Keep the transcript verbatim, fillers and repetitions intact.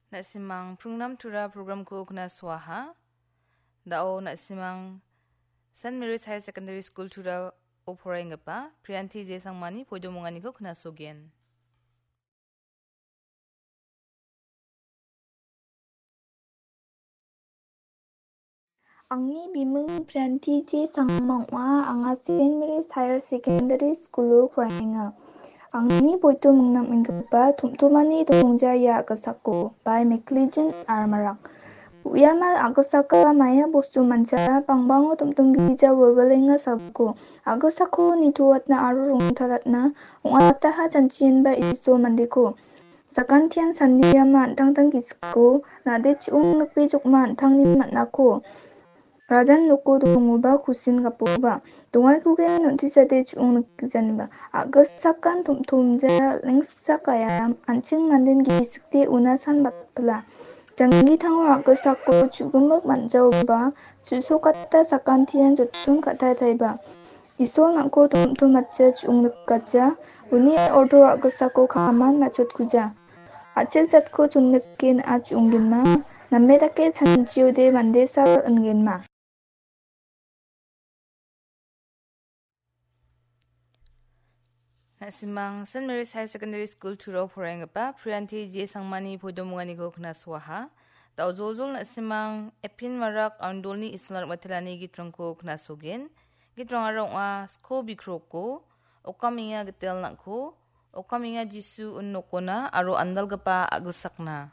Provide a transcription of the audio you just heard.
Na·simang Prungnam Tura programko knasoaha. Da·o na·simang Saint Mary's Higher Secondary School Turao poraienggipa Priyanti J Sangmani poidomonganiko knasogen. Angni biming Priyanti J Sangma ong·a, anga Saint Mary's Higher Secondary School-o poraenga. Angni poidomongnam inggipa Tom·tomani Dongja ia a·gisako, by Mclean R Marak. Uiamal a·gisaka maia bostu mancha, bangbango tom·tom gija wilwilenga salgiko. A·gisako nitoatna aro rongtalatna ong·ataha janchienba Iso mandeko. Sakantian sandiama an·tangtang gisiko, nade chu·ong nikbejokma an·tangni man·ako. Rajan noko dongoba kusin gapoba. Dongaikogimin on·tisade chu·ong nikgijaniba. A·gisakan tom·tomja lengsiksa kaiam, an·ching manden gisikde una san batpila. Janggitango a·gisako chu·gimik man·jaoba, chu·sokata sakantian joton ka·taitaiba. Isol nang·ko tom·tomatja chu·ong nikatja, uni ordo a·gisako kaman matchotkuja. A·chel jatko chonnike na·a chu·onggenma, name dake chanchiode mande sal ingenma. Na·simang Saint Mary's Higher Secondary School Turao poraienggipa Priyanti J Sangmani poidomonganiko knasoaha. Da·o joljol na·simang Epin Marak Andolni Isol Narmatelani gitrangko knasogen. Gitrangara ong·a Sko Bikroko, Okamenga Gitel Nang·ko, Okamenga Jisu Un Nokona aro Andalgipa A·gilsakna.